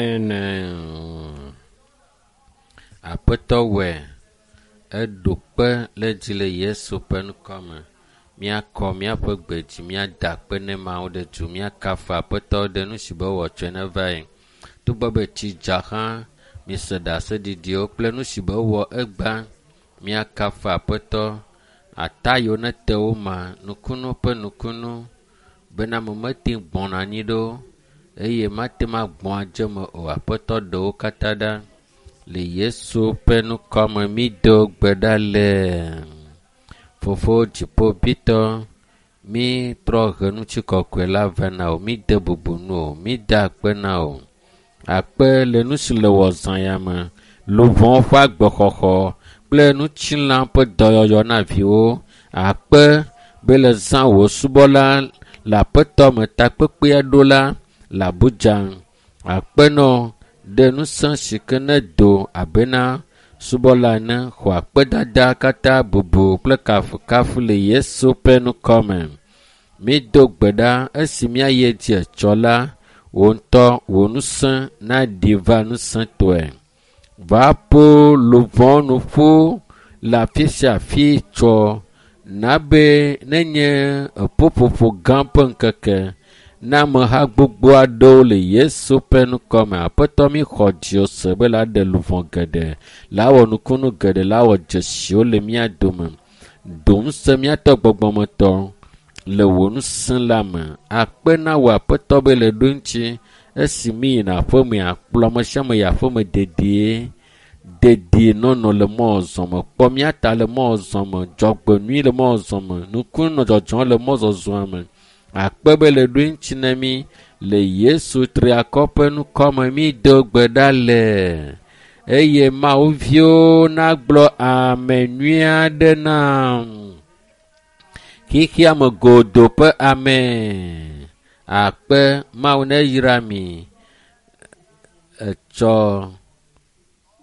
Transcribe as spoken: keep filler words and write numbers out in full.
Amen. Aƒetɔ wɔe. Eɖo kpe le dzi le Yesu ƒe ŋkɔ me. Míakɔ míaƒe gbe dzi, míada akpe ne Mawu ɖe du, míakafu Aƒetɔ ɖe nu si be wɔ tsɔe ne va yi. Togbɔ be tsi dza hã, mise ɖaseɖiɖiwo kple nu si be wɔ egbea. Míakafu Aƒetɔ. Ata yiwo nete wo ma, nukunu ƒe nukunu bena ame mete ŋu gbɔna anyi ɖo eye mate ŋu agbɔ adze eme o. Aƒetɔ ɖe wo katã ɖa. Le Yesu ƒe ŋkɔ me mído gbe ɖa le. Fofo dziƒoʋĩtɔ, mítrɔ he ŋutikɔkɔe la vɛ na wò. Míde bubu nu o, mída akpe na wò. Akpe le nu si le wɔ zã ya me. Luʋɔwo ƒe agbexɔxɔ kple ŋutilã ƒe dɔyɔyɔ na viwo. Akpe be le zã wò subɔla le aƒetɔ me takpekpea ɖo la le Abuja. Akpe nɔ ɖe ŋusẽ si ke nedo abena subɔla ene xɔ akpedada katã bubu kple kafukafu le Yesu ƒe ŋkɔ me. Mído gbe ɖa esi míayi edzi etsɔ la, wò ŋutɔ wò ŋusẽ naɖi va ŋusẽtɔe. Va ƒo luʋɔ nu ƒu le afi sia afi tsɔ na be nenye eƒuƒoƒo gã ƒe ŋkeke na ameha gbogbo aɖewo le Yesu ƒe ŋkɔ me. Aƒetɔ mi xɔ dziwò se be la ɖe luʋɔ geɖe, la wɔ nukunu geɖe, la wɔ dzesiwo le mía dome. Do ŋusẽ míatɔ gbɔgbɔmetɔ le wò ŋusẽ la me. Akpe na wò Aƒetɔ be le ɖo ŋuti esi mi yina aƒeme akplɔ ame sia ame yi aƒeme dedie. Dedie nɔnɔ le mɔzɔ me. Kpɔ mía ta le mɔzɔ me. Dzɔgbenyui le mɔzɔ me. Nukunu nɔ dzɔdzɔm le mɔzɔzɔa me. Akpe be le ɖo ŋuti na mí le Yesu triakɔ ƒe ŋkɔ me mído gbe ɖa le. Eye Mawu viwo nagblɔ ame nyui aɖe nam. Xexea me godoo ƒe ame. Akpe Mawu neyra mi. Etsɔ.